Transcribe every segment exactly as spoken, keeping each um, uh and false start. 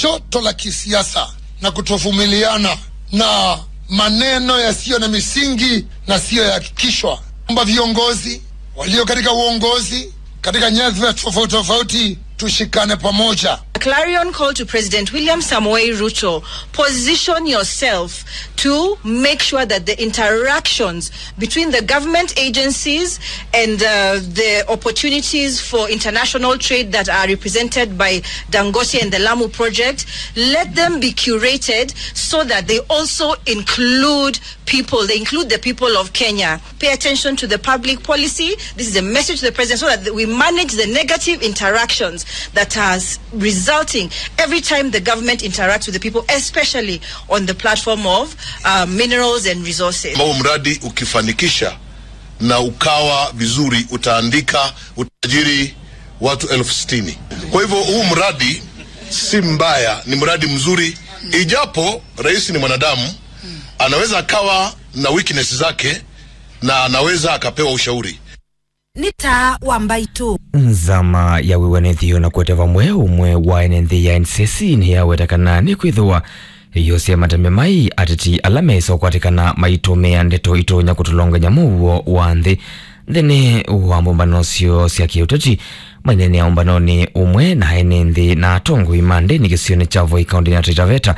joto la kisiasa na kutovumiliana na maneno yasiyo na misingi na siyo ya hakikishwa. Omba viongozi walio katika uongozi katika nyadhifa tofauti tofauti, tushikane pamoja. A clarion call to President William Samoei Ruto: position yourself to make sure that the interactions between the government agencies and uh, the opportunities for international trade that are represented by Dangote and the Lamu project, let them be curated so that they also include people, they include the people of Kenya. Pay attention to the public policy. This is a message to the president so that we manage the negative interactions that are resulting every time the government interacts with the people, especially on the platform of uh, minerals and resources. Huu mradi ukifanikisha na ukawa vizuri, utaandika utajiri watu elfu sitini. Kwa hivyo huu mradi si mbaya, ni mradi mzuri, ijapo rais ni mwanadamu, anaweza akawa na weakness zake na anaweza akapewa ushauri. Nĩ taa wa mbaitũ. Nzama ya wĩw'anĩthyo na kũete vamwe ũmwe wa ene nthĩ ya N C C nĩyaweta kana nĩkwĩthĩwa yosea matembe mai ateti ala meĩsa ũkwatĩkana maitũmĩa ndeto itonya kũtũlongany'a mũuo wa nthĩ. Nthĩnĩ wa mbũmbano syoo sya kĩũteti, maineenea ũmbanonĩ ũmwe na ene nthĩ na atongoi ma ndĩni kĩsionĩ kya Voi kaũntĩnĩ ya Taita Taveta,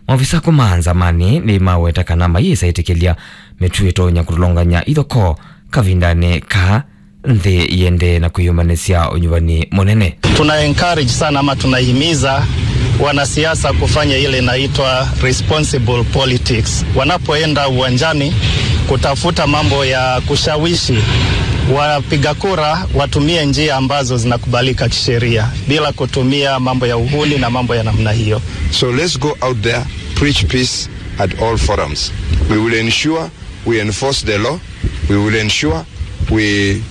maovisa kuma Nzamanĩ nĩmaweta kana mayĩsa ĩtĩkĩlya mĩtuo ĩtonya kũtũlongany'a ithokoo kavindanĩ kaa nthĩ yĩendee na kwĩyũmbanĩsya ũnyuvani mũnene. Tuna encourage sana ama tunahimiza wanasiasa kufanya ile inaitwa responsible politics. Wanapoenda uwanjani kutafuta mambo ya kushawishi wapiga kura, watumie njia ambazo zinakubalika kisheria bila kutumia mambo ya uhuni na mambo ya namna hiyo. So let's go out there, preach peace at all forums. We will ensure we enforce the law, we will ensure we,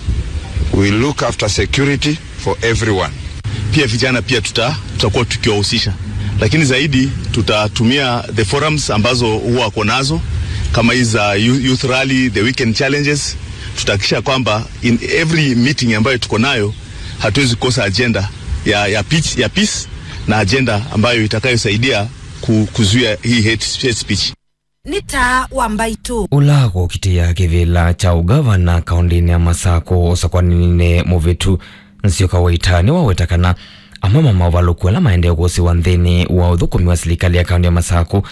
we look after security for everyone. Pia vijana pia tuta-, tutakuwa tukiwahusisha, lakini zaidi tutatumia the forums ambazo huwa wako nazo, kama hizi za you-, youth rally, the weekend challenges. Tutahakikisha kwamba in every meeting ambayo tuko nayo hatuwezi kukosa agenda ya, ya pitch, ya peace na agenda ambayo itakayosaidia ku-, kuzuia hii hate, hate speech. Nĩ taa wa mbaitũ. Ũla kũkitĩa kĩvĩla kya ũgavana kaũndĩnĩ ya Masakũ ũsakwaninĩ mũvĩtu, Nzioka Waita nĩwaweta kana amwe ma maũvalũku ala maendee kũsĩwa nthĩnĩ wa ũthũkũmi wa silikalĩ ya kaũndĩ ya Masakũ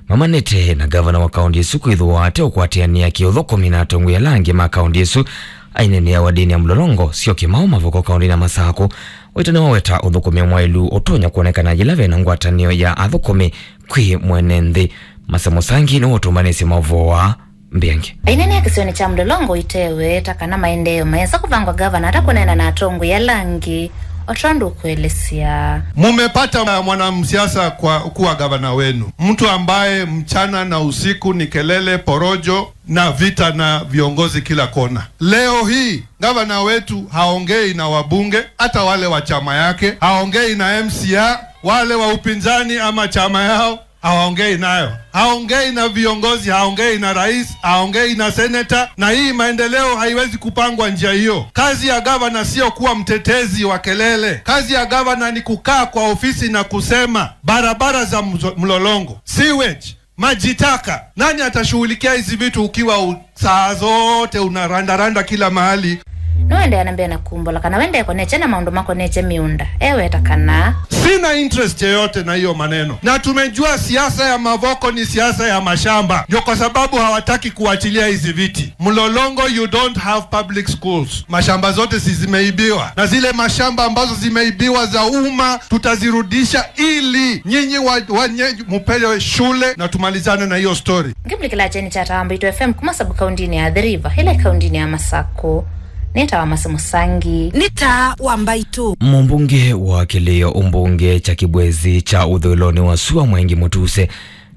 mamanĩte na gavana wa kaũndĩ ĩsu kwĩthĩwa ate ũkwatĩanĩa kĩũthũkũmi na atongoi ala angĩ ma kaũndĩ ĩsu. Aineenea wadĩnĩ ya Mlolongo, Sio Kimau, Mavoko kaũndĩnĩ ya Masakũ, Waita nĩwaweta ũthũkũmi mwaĩlu ũtonya kwonekana yĩla vena ngwatanĩo ya athũkũmi kwĩ mwene nthĩ. Mase Mũsangi nĩwe ũtũmbanĩsye maũvoo aa mbĩange. Aineenea kĩsionĩ kya Mlolongo itewe ta kana maendeeo mayĩsa kũvangwa gavana ata kũneena na atongoi ala angĩ, o tondũ ũkũelesya. Mumepata mwanamsiasa kwa kuwa gavana wenu, mtu ambaye mchana na usiku ni kelele, porojo na vita na viongozi kila kona. Leo hii gavana wetu haongei na wabunge, hata wale wa chama yake, haongei na M C A, wale wa upinzani ama chama yao hawaongei nayo. Haongei na viongozi, haongei na rais, haongei na seneta, na hii maendeleo haiwezi kupangwa njia hiyo. Kazi ya gavana sio kuwa mtetezi wa kelele. Kazi ya gavana ni kukaa kwa ofisi na kusema barabara za mzo-, Mlolongo, sewage, maji taka. Nani atashughulikia hizi vitu ukiwa u-, saa zote unarandaranda kila mahali? Nũendeea na mbee na kumbũla kana we ndekonetye na maũndũ makonetye mĩũnda. Eweta kana, sina interest yoyote na hiyo maneno, na tumejua siasa ya Mavoko ni siasa ya mashamba. Ndio kwa sababu hawataki kuachilia hizi viti. Mlolongo, you don't have public schools. Mashamba zote si zimeibiwa, na zile mashamba ambazo zimeibiwa za umma tutazirudisha ili nyinyi wa, wa, nye-, mupewe shule na tumalizane na hiyo story. Ngĩmũlikĩla kyeni kya Taa wa Mbaitũ F M kuma sub-kaũndĩnĩ ya Athi River, ĩla ĩ kaũndĩnĩ ya Masakũ. Nĩ Taa wa Mase Mũsangi. Nĩ Taa wa Mbaitũ. Mũmbunge wa kĩlĩo ũmbunge kya Kĩbwezi kya ũthũĩlonĩ wa sua Mwengi Mũtuse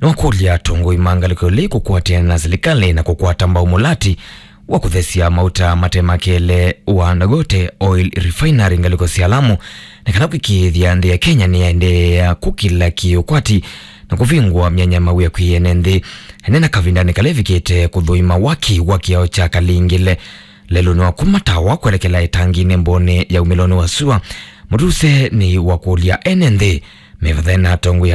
nĩwakũlya atongoi ma ngalĩko ĩla kũkwatĩana na silikalĩ na kũkwata mbau mũlati wa kũthesya mauta mate ma kelĩ wa Dangote Oil Refinery ngalĩko sya Lamu, na kana kwĩkĩĩthya nthĩ ya Kenya nĩyaendeea kũkĩla kĩũkwati na kũvingũa myanya mawĩa kwĩ ene nthĩ. Aneena kavindanĩ kala ĩvikĩte kũthũima waki wa kĩao kya Kalingile lelũnĩ wa kuma Tawa kwelekela ĩtanginĩ mbonĩ ya umĩlonĩ wa sua, Mũtuse nĩwakũlya ene nthĩ Mĩvathe na atongoi